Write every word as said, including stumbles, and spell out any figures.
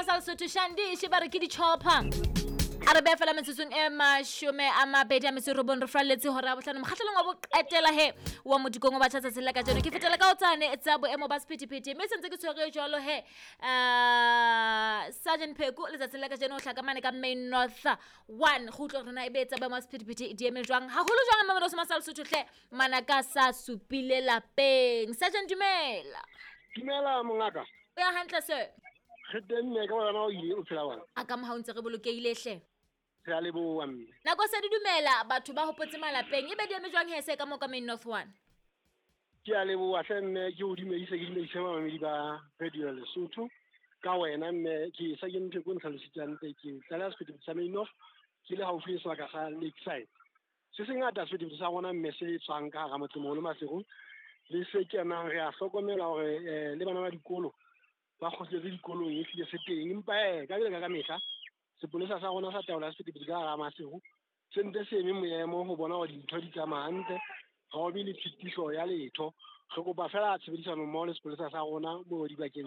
sa Lesotho Shandi she ba re ke di-chopper a re behe fela metsotsong e mashome a mabedi a metso e robong re falletse hora ya bohlano mokgahlelong wa boqetela he wa modikong wa batjha tsatsing la kajeno ke fetela ka ho tsane tsa boemo ba sephethephethe mme sentse ke tshwere jwalo he um sergeant Pheko letsatsing la kajeno o hlaka mane ka main north one go utlwa hore na ebe tsa boemo ba sephethephethe di eme jwang haholo jwang mamelodi sa Lesotho hle manaka sa supile lapeng sergeant dumela Dumela mongaka. o ya hantle sir Re teng mme ka wena o ile o phela bana. a ka moha o ntse re bolokehile hle Re a leboha mme. nako se di dumela batho ba hopotse malapeng ebe di eme jwang he se ka mo ka main north one Ke a leboha hle mme ke o dumedise ke dumedise bamamedi ba Radio Lesotho. Ka wena mme ke sa ke ntho e ko ntlhalositse hantle ke tlaleha sephethephethe sa Main North ke le haufi le sebaka sa Lakeside. Se sengata sephethephethe sa rona mme se tswang ka hara motsemoholo Maseru le se kenang re a hlokomela hore eh, le bana ba dikolo ba kgutletse dikolong ehlile se teng empa eh ka ka ka mehla sepolesa sa rona sa taolo ya sephethephethe ka hara Maseru se ntse se eme moemo ho bona hore dintho di tsamaya hantle ha ho be le tshitiso ya letho re kopa fela tshebedisano mmoho le sepolesa sa rona mo dibakeng